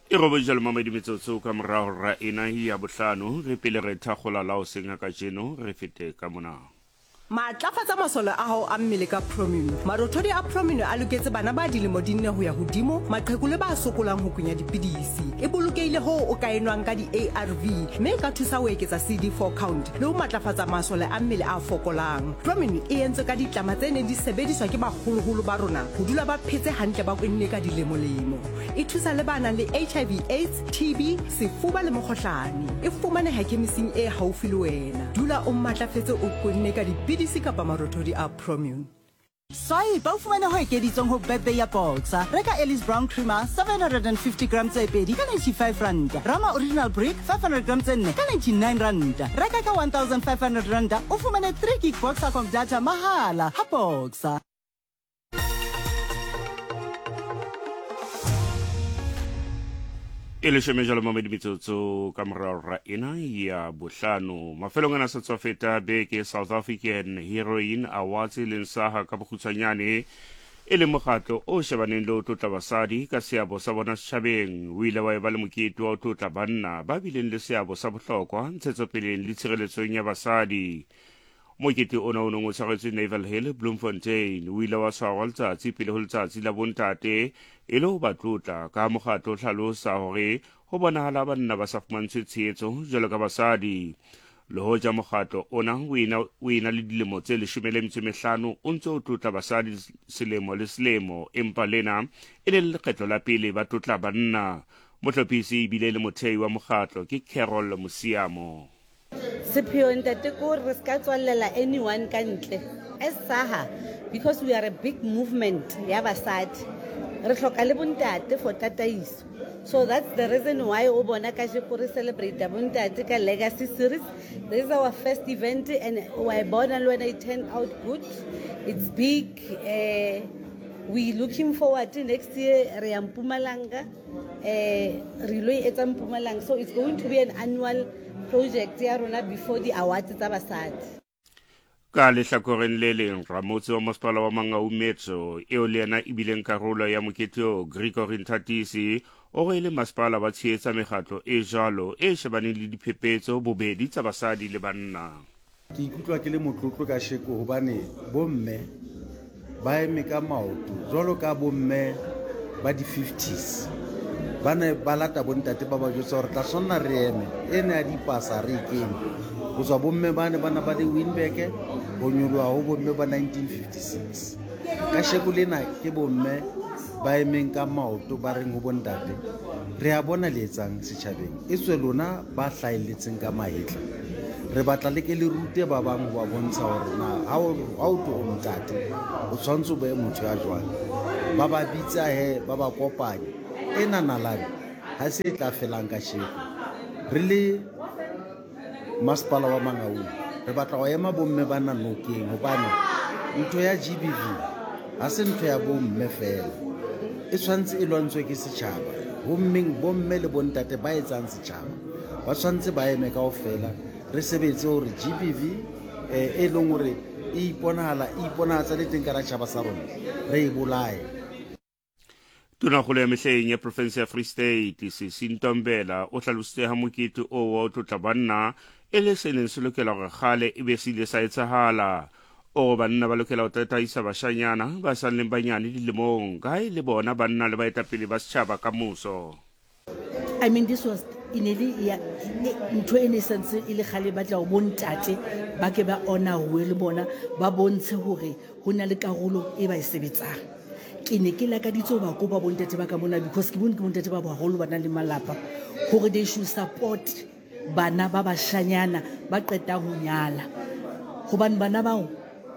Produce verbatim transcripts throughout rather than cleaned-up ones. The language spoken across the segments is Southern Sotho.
E robedi mamedi metsotso ka morago ra ena ya bohlano re pele re thakgola la o seng ka jeno re fete ka mona. Matlafatsa masole a hao a mmele ka Promino. Marothodi a Promino a loketse bana ba dilemo di nne ho ya hodimo, maqheku le ba sokolang ho kunya dipidisi. E bolokehile hoo o ka e nwang ka di-A R V, mme e ka thusa ho eketsa C D four count le ho matlafatsa masole a mmele a fokolang. Promino e entswe ka ditlama tse neng di sebediswa ke baholoholo ba rona ho dula ba phetse hantle ba kwenne ka dilemolemo. E thusa le ba nang le H I V AIDS, T B, sefuba le mokgohlane. E fumaneha khemising e haufi le wena. Dula o matlafetse o kwenne ka dipidisi kapa marothodi a Promune. Swipe o fumane ho ekeditsweng ho birthday ya Boxer. Reka Ellis Brown Creamer seven hundred and fifty grams tse pedi ka ninety-five rand. Rama Original Brick five hundred grams tse nne ka ninety-nine rand. Reka ka one thousand five hundred rand o fumane three gig Boxer com data mahala ha Boxer. E leshome jalo mamedi metsotso ka morao ra ena ya bohlano. Mafelong ana sa tswa feta beke South African Heroine Awards e leng saha ka bokgutshwanyane e le mokgatlo o shebaneng le ho tlotla basadi ka seabo sa bona setjhabeng. O ile wa eba le mokete wa ho tlotla banna ba bileng le seabo sa bohlokwa ntshetsopeleng le tshireletsong ya basadi. Mokete ona o neng o tshwaretswe Naval Hill, Bloemfontein, o ile wa tshwarwa letsatsi pele ho letsatsi la bontate e le ho ba tlotla ka mokgatlo o hlalosa hore ho bonahala banna ba sa fumantshwe tshehetso jwalo ka basadi. Le hoja mokgatlo ona o ena, o ena le dilemo tse leshome le metso e mehlano o ntse o tlotla basadi selemo le selemo, empa lena e le lekgetlo la pele ba tlotla banna. Mohlophisi ebile le mothei wa mokgatlo ke Carol Musiamo. Sepheo ntate ko re ska tswallela anyone ka ntle as SAHA, because we are a big movement ya basadi, re hloka le bontate for tataiso. So that's the reason why o bona kajeko re celebrate bontate ka legacy series. This is our first event and wa bona le wena it turned out good. It's big. Uh, we looking forward to next year re ya Mpumalanga, eh re lo etsa Mpumalanga, so it's going to be an annual project ya rona before the awards tsa basadi. Ka lehlakoreng le leng, ramotse wa masepala wa Mangaung Metro eo le yena e bileng karolo ya mokete oo, Gregory Nthatisi, o re le masepala ba tshehetsa mekgatlo e jwalo e shebaneng le diphephetso bobedi tsa basadi le banna. Ke ikutlwa ke le motlotlo ka sheko hobane bomme ba eme ka maoto jwalo ka bomme ba di-fifties. Ba ne ba lata bontate ba ba jwetsa hore tla tshwanela re eme, ena ya dipasa re e kene. Ho tswa bomme ba ne ba na ba le Winback, ho nyoloha ho bomme ba nineteen fifty-six. Ka sheko lena ke bomme ba emeng ka maoto ba reng ho bontate, re a bona le etsang setjhabeng, e tswe lona ba hlahelletseng ka mahetla. Re batla le ke le rute ba bang ho ba bontsha hore na ha o, ha o tlo o ntate, o tshwanetse o be motho ya jwang. Ba ba bitsa he, ba ba kopanye. Ena nalane ha se e tla felang ka sheko. Re le masepala wa Mangaung re batla ho ema bomme ba na nokeng, hobane ntho ya G B V ha se ntho ya bomme fela, e tshwanetse e lwantshwe ke setjhaba. Hommeng bomme le bontate ba etsang setjhaba ba tshwanetse ba eme kaofela, re sebetse hore G B V eh, e leng hore e iponahala, e iponahatsa le teng ka hara tjhaba sa rona, re e bolaye. Tonakgolo ya mehleng ya province ya Free State, Sisi Ntombela, o hlalositse ha mokete oo wa ho tlotla banna e le se neng se lokela hore kgale e be se ile sa etsahala. O re banna ba lokela ho tataisa bashanyana ba sa leng banyane dilemong, ka ha e le bona banna le baetapele ba setjhaba ka moso. I mean, this was e ne le ya, e, ntho e ne sentse e le kgale ba tla ho bontate ba ke ba honour le bona ba bontshe hore ho na le karolo e ba e sebetsang. Ke ne ke lakaditse ho ba kopa bontate ba ka mona, because ke bone ke bontate ba baholo ba nang le malapa, hore they should support bana ba bashanyana ba qetang ho nyala, hobane bana bao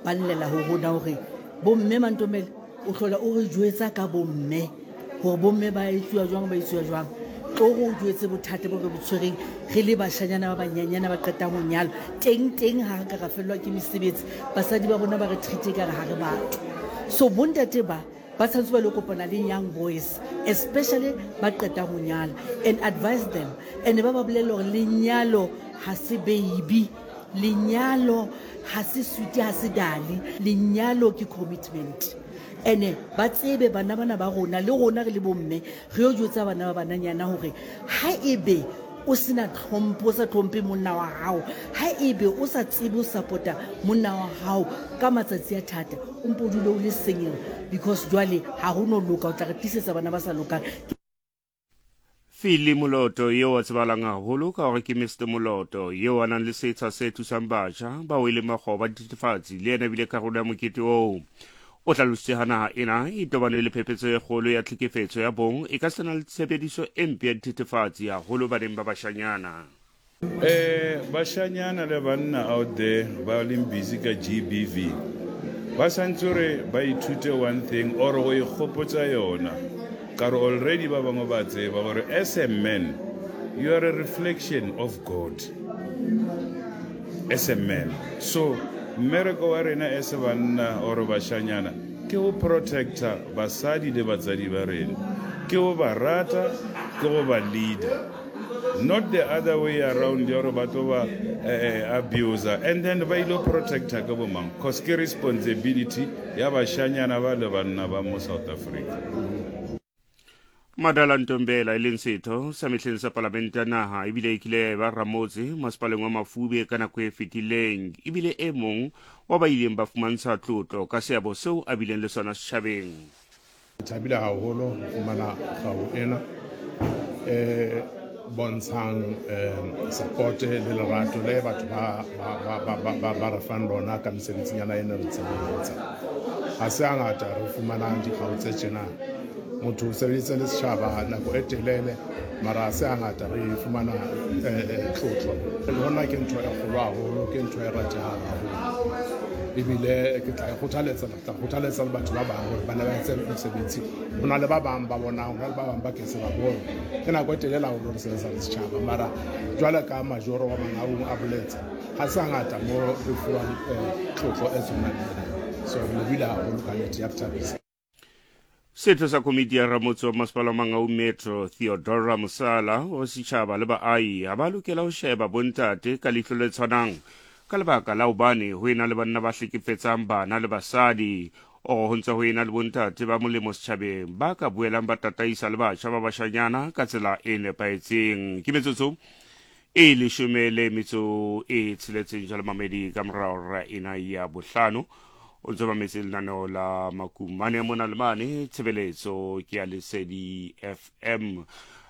ba llela ho rona hore bomme Mantomele o hlola o re jwetsa ka bomme hore bomme ba etsuwa jwang, ba etsuwa jwang. Tlo re o jwetse bothata bo re bo tshwereng re le bashanyana ba banyenyana ba qetang ho nyala. Teng teng ha re ka ra fellwa ke mesebetsi, basadi ba rona ba re treat-e ekare ha re batho. So bontate ba ba tshwanetse ba lo kopana le young boys, especially ba qetang ho nyala, and advise them, and ba ba bolelle hore lenyalo ha se baby, lenyalo ha se sweet, ha se dali, lenyalo ke commitment. Ene ba tsebe bana bana ba rona le rona re le bomme re yo jwetsa bana ba bananyana hore ha ebe o sena tlhompho, o sa tlhomphe monna wa hao, ha ebe o sa tsebe ho support-a monna wa hao ka matsatsi a thata, o mpo o dule o le single, because jwale ha ho no loka, o tla re tlisetsa bana ba sa lokang. Philly Moloto eo a tsebahalang haholo ka hore ke Mister Moloto, eo a nang le setsha se thusang batjha bao e leng makgoba a dithethefatsi, le yena ebile karolo ya mokete oo. O hlalositse ha naha ena e tobane le phephetso e kgolo ya tlhekefetso ya bong e ka sena le tshebediso e mpe ya dithethefatsi haholo baneng ba bashanyana. Eh, bashanyana le banna out there ba leng busy ka G B V ba santse hore ba ithute one thing or go ikgopotsa yona, ka re already ba bangwe ba tseba gore as a man you are a reflection of God as a man. So mmereko wa rena as banna or bashanyana ke go protecta basadi le batsadi ba rena, ke go ba rata, ke go ba leader, not the other way around ya gore ba tlo ba, eh, eh, abuser and then ba ilo protecta ke bo mang, cause ke responsibility ya bashanyana ba le banna ba mo South Africa. Madala Ntombela e leng setho sa mehleng sa palamente ya naha ebile e kile ya eba ramotse masepaleng wa Mafube ka nako e fetileng, ebile e mong wa ba ileng ba fumantsha tlotlo ka seabo seo a bileng le sona setjhabeng. Ke thabile haholo ho fumana kgau ena e bontshang, eh, support le lerato le batho ba, ba, ba, ba, ba, ba, ba re fang lona ka mesebetsing yana e ne re ntseng re etsa. Ha se hangata re fumanang dikgau tse tjena. Motho o sebeditse le setjhaba nako e telele, mara ha se hangata re fumana, eh, eh, tlotlo. Le hona ke ntho e kgolo haholo, ke ntho e ratehang haholo. Ebile ke tla e kgothaletsa, ke tla kgothaletsa le batho ba bang hore ba ne ba etse mosebetsi. Ho na le ba bang ba bonang, ho na le ba bang ba ke se ba bone. Ke nako e telele haholo re sebetsa le setjhaba, mara jwale ka majoro wa Mangaung a boletse, ha se hangata mo re fuwang, eh, tlotlo e tshwanang le ena. So re lebohile haholo ka nnete, ya re thabisa. Setho sa komiti ya ramotse wa masepala wa Mangaung Metro Theodora Mosala o setjhaba le baahi ha ba lokela ho sheba bontate ka leihlo le tshwanang ka lebaka la hobane ho ena le banna ba hlekefetsang bana le basadi, o ho ntse ho ena le bontate ba molemo setjhabeng ba ka boelang ba tataisa le batjha ba bashanyana ka tsela e nepahetseng. Ke metsotso e leshome le metso e tsheletseng jwale mamedi ka morao ra ena ya bohlano. O ntse mametse lenaneo la Makumane mona le mane, tshebeletso ke ya Lesedi F M.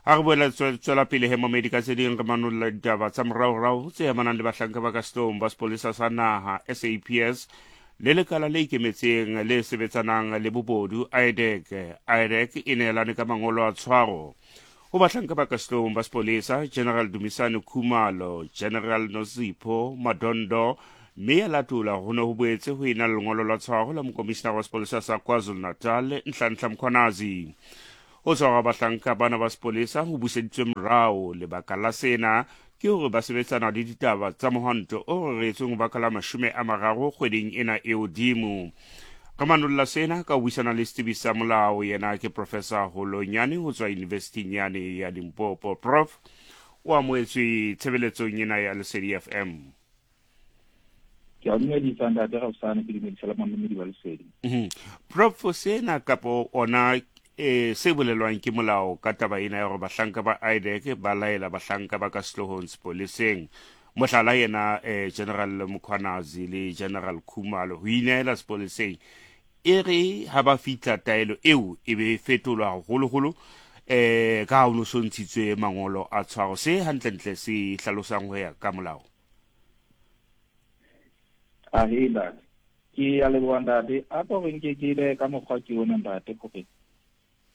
Ha re boela tswe-, tswela pele he mamedi ka tse ding, re manolla ditaba tsa moraorao tse amanang le bahlanka ba ka sehloohong ba sepolesa sa naha S A P S le lekala le ikemetseng le sebetsanang le bobodu I D E C. I D E C e neelane ka mangolo a tshwaro ho bahlanka ba ka sehloohong ba sepolesa General Dumisani Khumalo, General Nozipho Madondo, mme ya latola ho ne ho boetse ho ena le lengolo la tshwaro la mokomishinara wa sepolesa sa KwaZulu-Natal Nhlanhla Mkhwanazi. Ho tshwarwa bahlanka bana ba sepolesa ho buseditswe morao. Lebaka la sena ke hore ba sebetsana le ditaba tsa mohwanto o reretsweng ho baka la mashome a mararo kgweding ena e hodimo. Re manolla sena ka ho buisana le setsebi sa molao, yena ke Professor Holonyane ho tswa University yane ya Limpopo. Prof, o amohetswe tshebeletsong ena ya Lesedi F M. Ke a dumedisa ntate Raosane, ke dumedisa le mamedi ba Lesedi. Mhm. Prof, sena kapo ona e se bolelwang ke molao ka taba ena ya hore bahlanka ba I D E C ba laela bahlanka ba ka sehloohong sepoleseng, mohlala yena, eh, General Mkhwanazi le General Khumalo ho inehela sepoleseng, e re ha ba fihla taelo eo e be e fetolwa haholoholo, eh, ka ha ho no so ntshitswe mangolo a tshwaro. Se hantlentle se hlalosang ho ya ka molao? Ahe, ntate. Ke a leboha ntate. A ko re nke ke ile ka mokgwa ke ona ntate, hore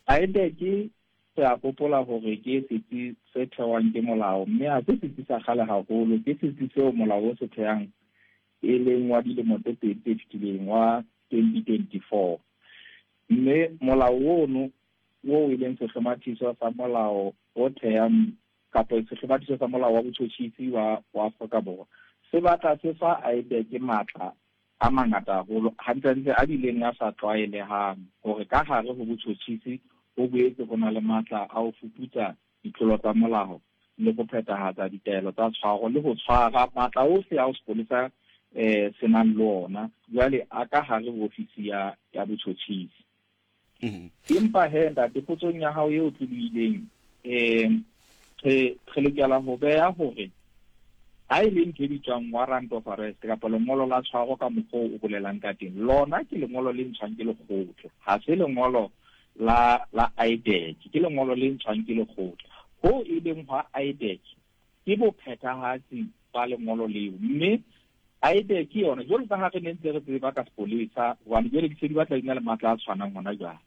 I D E C re a hopola hore ke setsi se thehwang ke molao, mme ha se setsi sa kgale haholo, ke setsi seo molao o se thehang e leng wa dilemo tse pedi tse fetileng, wa twenty twenty-four. Mme molao ono oo e leng sehlomathiso sa molao o thehang kapa sehlomathiso sa molao wa botjhotjhisi wa, wa Afrika Borwa se batla se fa I D E C matla a mangata haholo, hantlentle a bileng a sa tlwaelehang, hore ka hare ho botjhotjhisi ho boetse ho na le matla a ho fuputsa ditlolo tsa molao le ho phethahatsa ditaelo tsa tshwaro le ho tshwara, matla ohle ao sepolesa, eh, se nang le ona jwale a ka hare ho ofisi ya, ya botjhotjhisi. Empa he ntate, potsong ya hao eo tlobileng, um re re lokela ho beha hore ha e le ntho e bitswang warrant of arrest kapa lengolo la tshwaro ka mokgwa o bolelang ka teng, lona ke lengolo le ntshwang ke lekgotla, ha se lengolo la la I D E C, ke lengolo le ntshwang ke lekgotla. Ho e leng hwa I D E C ke bophethahatsi ba lengolo leo, mme I D E C yona jwalo ka ha re ne ntse re tseba ka sepolesa, hobane jwale di se di batla di na le matla a tshwanang hona jwale.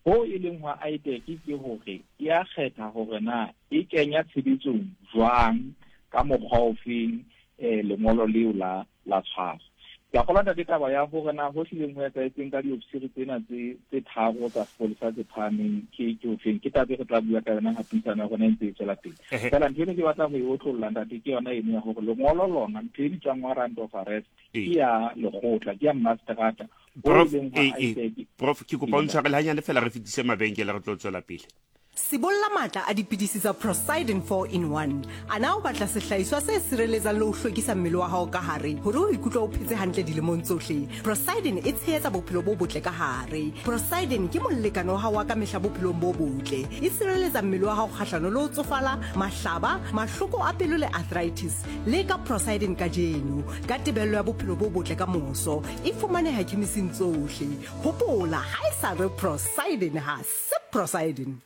Ho e leng hwa I D E C ke hore e a kgetha hore na e kenya tshebetsong jwang ka mokgwa ofeng eh lengolo leo la la tshwaro. Ke a kgolwa ntate taba ya hore na ho hlileng ho etsahetseng ka diofisiri tsena tse tse tharo tsa sepolesa tse phahameng ke ke ofeng, ke taba e re tla bua ka yona ha puisano ya rona e ntse e tswela pele. Fela ntho eno ke batla ho e otlolla ntate ke yona eno ya hore lengolo lona, ntho e bitswang warrant of arrest, ke ya lekgotla, ke ya mmaseterata. Prof, Prof, ke kopa o ntshwarele hanyane fela re fetise mabenkele re tlo tswela pele. Sibolla matla a dipidisi tsa Prosidin four in one. Ana o batla sehlahiswa se sireletsang le ho hlwekisa mmele wa hao ka hare hore o ikutlwe o phetse hantle dilemong tsohle. Prosidin e tshehetsa bophelo bo botle ka hare. Prosidin ke molekane wa hao wa ka mehla bophelong bo botle. E sireletsa mmele wa hao kgahlano le ho tsofala, mahlaba, mahloko a pelo le arthritis. Leka Prosidin kajeno ka tebello ya bophelo bo botle ka moso. E fumaneha khemising tsohle. Hopola, ha e sa re Prosidin ha se Prosidin.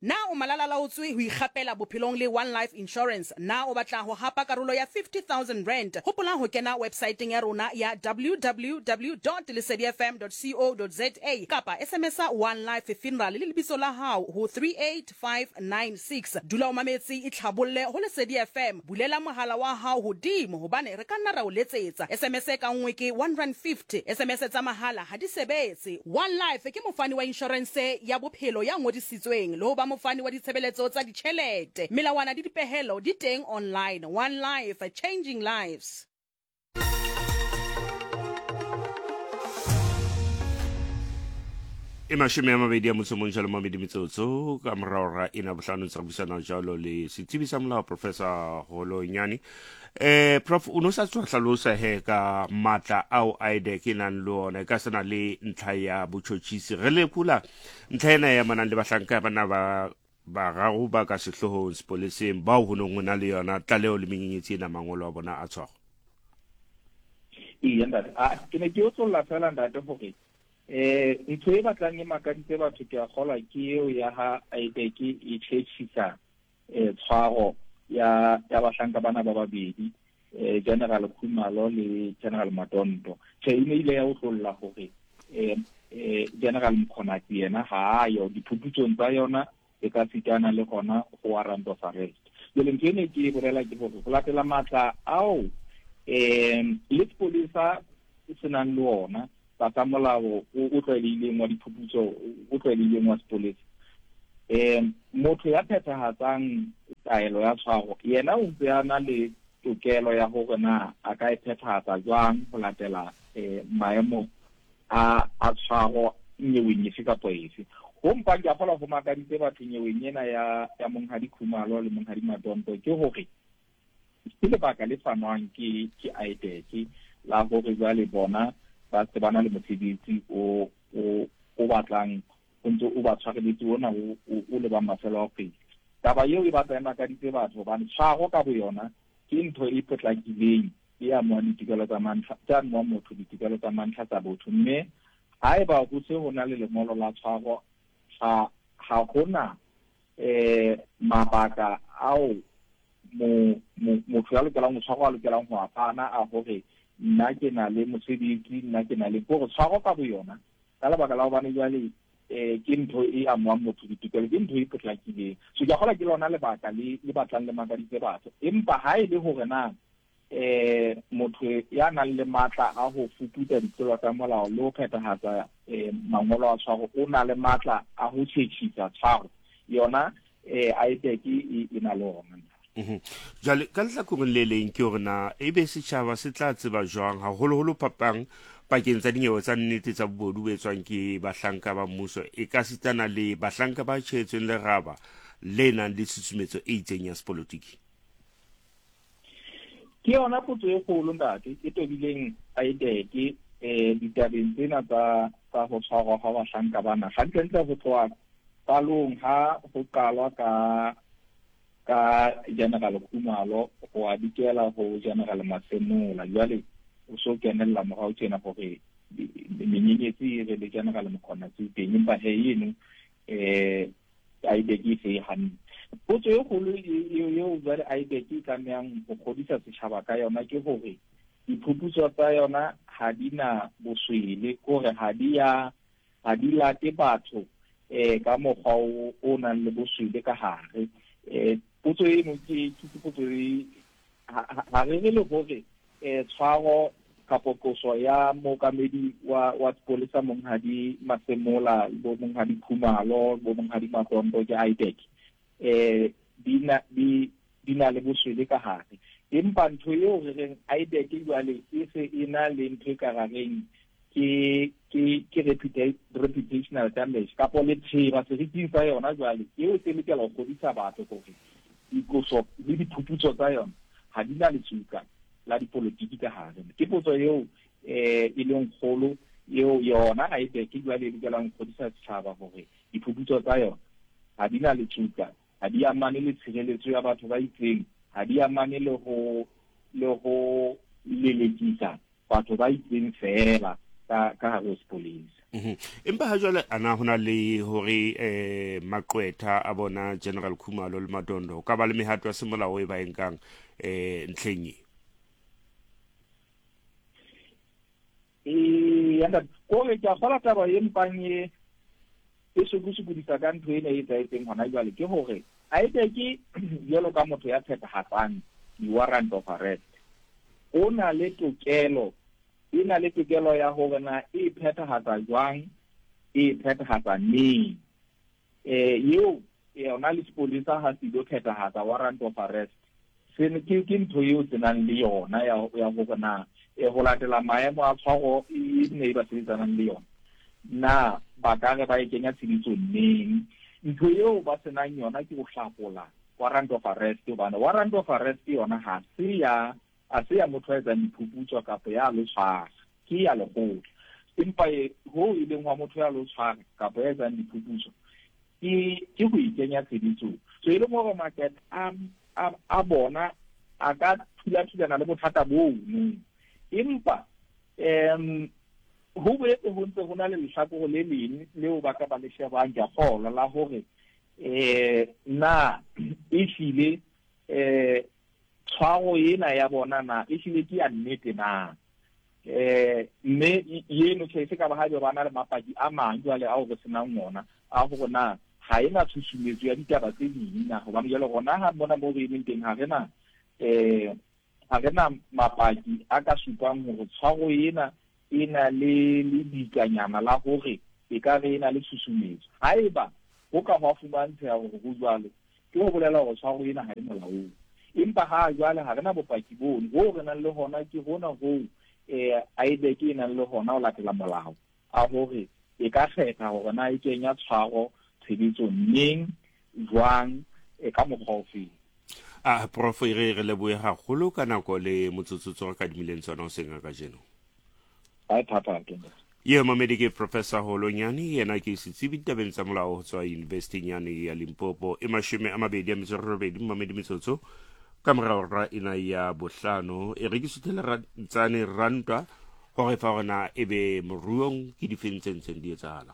Na o malala laotswe ho ikgapela bophelong le One Life Insurance? Na o batla ho hapa karolo ya fifty thousand rand? Hopola ho kena websiteng ya rona ya w w w dot lesedi f m dot co dot z a kapa S M S One Life Funeral le lebitso la hao ho three eight five nine six. Dula o mametse, e tlhabolle ho Lesedi F M. Bulela mohala wa hao hodimo hobane re ka nna ra o letsetsa. S M S ka nngwe ke one rand fifty. S M S tsa mahala ha di sebetse. One Life ke mofani wa insurance ya bophelo ya ngodisitsweng le ho ba mofani wa ditshebeletso tsa ditjhelete. Melawana di dipehelo di teng online. One Life, changing lives. E mashome a mabedi a motso mong jalo mabedi metsotso ka morao ra ena bohlano tsa buisana jalo le setsebi sa molao Professor Holonyane. Eh Prof, o no sa tswa hlalosa he ka matla ao I D E C e nang le ona ka sena le ntlha ya botjhotjhisi. Re lekola ntlha ena ya manang le bahlanka bana ba bararo ba ka sehloohong sepoleseng bao ho nong ho na le yona tlaleho le menyenyetsi ena mangolo a bona a tshwaro. Ee ntate, a ke ne ke otlolla fela ntate hore eh ntho e batlang e makaditse batho ke a kgolwa ke eo ya ha I D E C e tjhetjhisa eh tshwaro ya ya bahlanka bana ba babedi, eh General Khumalo le General Madondo. Tjhe, e ne ile ya otlolla hore eh eh General Mkhonati yena ha a yo diphuputsong tsa yona e ka sitana le gona go warrant of arrest. Jwale ntho ene ke e bolela ke hore ho latela matla ao eh le sepolesa se nang le ona tlasa molao o tlwaelehileng wa diphuputso o tlwaelehileng wa sepolesa, eh motho ya phethahatsang taelo ya tshwaro yena o ntse a na le tokelo ya hore na a ka e phethahatsa jwang ho latela eh maemo a a tshwaro nyeweng efe kapa efe. Ho mpang ke a kgolwa ho makaditse batho nyeweng ena ya ya Monghadi Khumalo le Monghadi Madondo ke hore ke lebaka le fanwang ke ke I D E C la hore jwale bona ba se ba na le mosebetsi o o o batlang o ntse o ba tshwareletse ona o o le ba mafelo a kgwedi. Taba eo e batla e makaditse batho hobane tshwaro ka boyona ke ntho e potlakileng e amang ditokelo tsa mantlha tsa amang motho ditokelo tsa mantlha tsa botho, mme haeba ho se ho na le lengolo la tshwaro ha ha hona eh mabaka ao mo motho ya lokelang ho tshwarwa a lokelang ho apana a hore nna ke na le mosebetsi, nna ke na le gore tshwaro ka boyona ka lebaka la hobane jwale eh ke ntho e amang motho ditokelo, ke ntho e potlakileng. So ke a kgolwa ke lona lebaka le le batlang le makaditse batho. Empa ha e le hore na eh motho ya nang le matla a ho fuputsa ditlolo tsa molao le ho phethahatsa eh mangolo a tshwaro o na le matla a ho tjhetjhisa tshwaro yona, eh I D E C e na le ona. Jwale ka lehlakoreng le leng ke hore na ebe setjhaba se tla tseba jwang haholoholo phapang pakeng tsa dinyewe tsa nnete tsa bobodu bo etswang ke bahlanka ba mmuso e ka sitana le bahlanka ba tjhehetsweng leraba le nang le tshusumetso e itseng ya sepolotiki? Ke yona potso e kgolo ntate e tobileng I D E C eh ditabeng tsena tsa tsa ho tshwarwa ha bahlanka bana. Hantlentle ho tloha qalong ha ho qalwa ka ka General Khumalo ho a dikela ho General Masemola, jwale o so kenella morao tjena hore menyenyetsi e re le General Mkhwanazi teng, empa he eno eh I D E C e se e hanne. Potso e kgolo eo jwale I D E C e tlamehang ho kgodisa setjhaba ka yona ke hore diphuputso tsa yona ha di na boswele, kore ha di ya ha di late batho eh ka mokgwa o o nang le boswele ka hare. Eh potso eno ke ke potso e ha re re le hore eh tshwaro kapo qoso ya mookamedi wa wa sepolesa Monghadi Masemola bo Monghadi Khumalo bo Monghadi Madondo ke I D E C eh di na di di na le boswele ka hare, empa ntho eo re reng I D E C jwale e se e na le ntho e ka rareng ke ke ke reputational damage kapo letheba seriting sa yona jwale eo se lokela ho kgodisa batho hore dikoso le diphuputso tsa yona ha di na letsuka la dipolotiki ka hare. Ke potso eo eh e leng kgolo eo yona I D E C jwale e lokelang ho kgodisa setjhaba hore diphuputso tsa yona ha di na letsuka, ha di amane le tshireletso ya batho ba itseng, ha di amane le ho le ho lelekisa batho ba itseng feela ka ka hare ho sepolesa. Empa ha jwale ana hona le hore eh maqwetha a bona General Khumalo le Madondo ka ba le mehato ya semolao e ba e nkang eh ntlheng e? Eh ya kore ke a kgola taba e mpang e e sokosokodisa ka ntho ena e etsahetseng hona jwale ke hore I D E C jwalo ka motho ya phethahatsang di-warrant of arrest o na le tokelo e na le tokelo ya hore na e phethahatsa jwang, e phethahatsa neng. Eh eo yona le sepolesa ha se ilo phethahatsa warrant of arrest se ke ke ntho eo se nang le yona ya ya hore na e ho latela maemo a tshwaro e ne e ba sebetsanang le yona na ba ka re ba e kenya tshebetsong neng. Ntho eo ba senang yona ke ho hlakola warrant of arrest, hobane warrant of arrest yona ha se ya ha se ya motho a etsang diphuputso kapa ya lo tshwara, ke ya lekgotla. Empa ho e leng wa motho ya lo tshwara kapa ya etsang diphuputso ke ke ho ikenya tshebetsong. So e leng hore market a a bona a ka thula-thulana le bothata bono, empa em ho boetse ho ntse ho na le lehlakore le leng leo ba ka ba le shebang ke a kgolwa la hore eh na ehlile eh tshwaro ena ya bona na ehlile ke ya nnete na, eh mme eno tjhe se ka ba ha ba na le mapaki a mang jwale ao re senang ona a hore na ha ena tshusumetso ya ditaba tse ding na, hobane jwale rona ha mona mo re emeng teng ha re na eh ha re na mapaki a ka supang hore tshwaro ena e na le le dikanyana la hore e ka re ena le tshusumetso. Haeba ho ka hwa fumantsheha hore ho jwalo, ke ho bolela hore tshwaro ena ha e molaong. Empa ha jwale ha re na bopaki bono, hoo re nang le hona ke hona hoo eh I D E C e nang le hona ho latela molao a hore e ka kgetha hore na e kenya tshwaro tshebetsong neng, jwang, e ka mokgwa ofeng. A prof e re re lebohe haholo ka nako le motsotsotso re kadimileng tsona hoseng ha kajeno. Ha thata ke. Ye mamedi ke Professor Holonyane, yena ke setsebi ditabeng tsa molao ho tswa University yane ya Limpopo. E mashome a mabedi a metso e robedi mamedi metsotso ka morao ra ena ya bohlano. E re ke suthele Rantsane Rantwa hore fa hore na ebe moruong ke difeng tse ntseng di etsahala.